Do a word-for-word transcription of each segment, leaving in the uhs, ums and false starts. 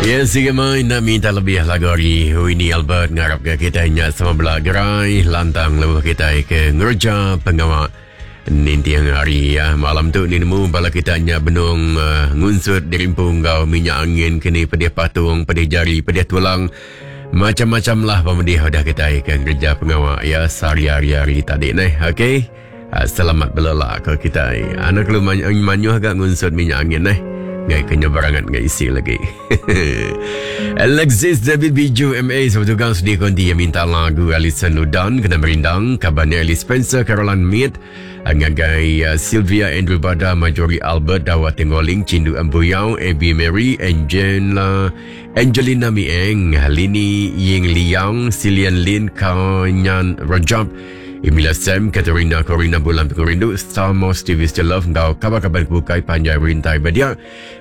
Ya, sigi mai nak minta lebih lagu hari Winnie Albert. Ngarap ke kita nya sama belagerai lantang lebuh kita ke ngerja pengawak nintiang hari ya. Malam tu ni nemu bala kita nya benung uh, ngunsut dirimpung gau minyak angin kini pedih patung, pedih jari, pedih tulang. Macam-macam lah pemedih udah kita ke ngerja pengawak ya sehari-hari tadi nih. Okey. Uh, selamat belelak ke kita. Anak lu manyuh agak ngunsut minyak angin nih. Ngai kena barangan ngai isi lagi. Alexis David Biju M A sebetul sedih konti yang minta lagu Alison Ludan kena merindang kabarnya Alice Spencer Caroline Mead ngagai uh, Sylvia Andrew Bada Marjorie Albert Dawa Tenggoling Cindu Embuyau Abby Mary Angela Angelina Mieng Lini Ying Liang Silian Lin Kanyan Rajab Emilia Sam, Katerina Corina Bulan Pengerindu, Star Mos T V Still Love, ngau kabar-kabar bukai panjai rintai badia.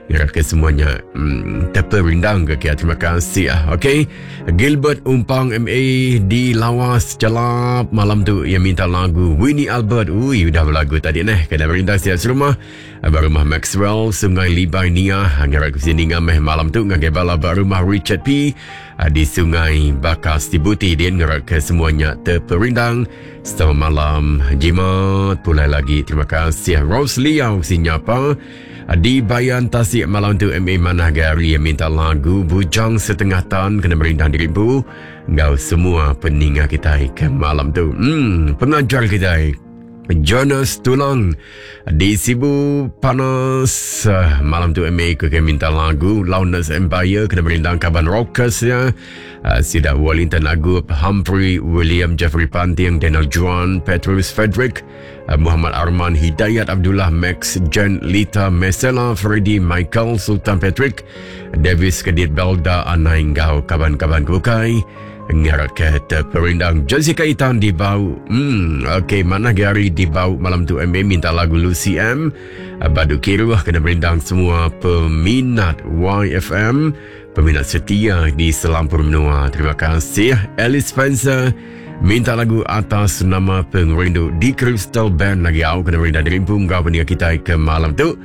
Ngarap ke semuanya hmm, terperindang ke kia. Terima kasih. Okey. Gilbert Umpang M A di Lawas Celap malam tu yang minta lagu Winnie Albert. Ui, udah berlagu tadi neh. Kena merindang siap serumah. Rumah Maxwell, Sungai Libai Nia. Ngarap ke sini ngameh malam tu ngagai bala rumah Richard P di Sungai Bakas Sibuti. Dia ngarap ke semuanya terperindang. Selamat malam Jimat pulai lagi. Terima kasih Rose Liao sinyapa di Bayan Tasik malam tu M A Manah Gary yang minta lagu Bujang Setengah Tan kena merindang diribu ngau semua peninga kita ke malam tu. Hmm, pengajar kita Jonas Tulang di Sibu Panas malam tu M A ke minta lagu Loudness Empire kena merindang kaban rockers ya. Uh, Sida Wellington Agup, Humphrey William, Jeffrey Panting, Daniel Juan, Petrus Frederick, uh, Muhammad Arman, Hidayat Abdullah, Max, Jen, Lita, Mesela, Freddy, Michael, Sultan Patrick, Davis Kedit Belda, Anai Ngau, kaban-kaban kukai. Ngarap ke terperindang Jessica Itan di Bau. Hmm, okey, mana Gary di Bau malam tu M A minta lagu Lucy M. Badu Kiruh kena merindang semua peminat Y F M, peminat setia di Selampur Menua. Terima kasih. Alice Spencer minta lagu atas nama pengerindu di Crystal Band lagi au kena merindang dirimpung kau peningat kita ke malam tu.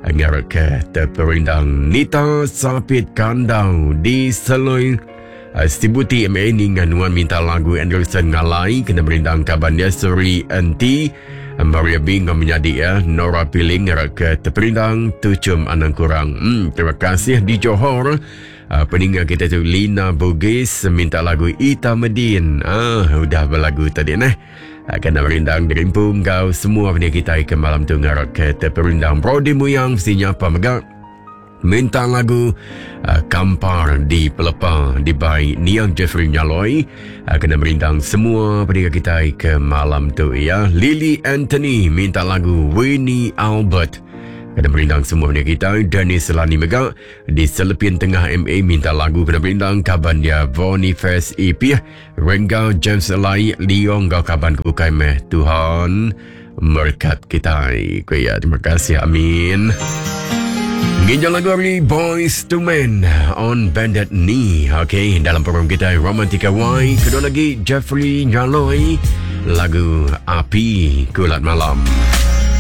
Ngarap ke terperindang Nita Sapit Kandau di Seloi Uh, Sibuti M A ni nganuan minta lagu Anderson Ngalai kena merindang kaban dia Suri N T Maria Bing menjadi ya Nora Piling ke terperindang Tucum Anang Kurang. Hmm, terima kasih di Johor. Uh, peninggal kita tu Lina Bugis minta lagu Ita Medin. Ah, udah berlagu tadi nah. Kena merindang dirimpung kau semua peninggal kita ke malam tu ngarap ke terperindang Brody Muyang sinyapa megak. Minta lagu uh, Kampar di Pelepa di by Niang Jeffrey Nyaloi. Uh, kena merindang semua pendengar kita ke malam tu ya. Lily Anthony minta lagu Winnie Albert. Kena merindang semua pendengar kita. Dennis Lani Mega di Selepin Tengah M A minta lagu kena merindang kaban dia Boniface E P Rengga James Lai Leong gau kaban kukai meh. Tuhan berkat kita. Kuya, terima kasih. Amin. Ginjal lagu hari Boys to Men on Bandit Knee. Okey, dalam program kita Romantika Y. Kedua lagi Jeffrey Nyaloi, lagu Api Kulat Malam.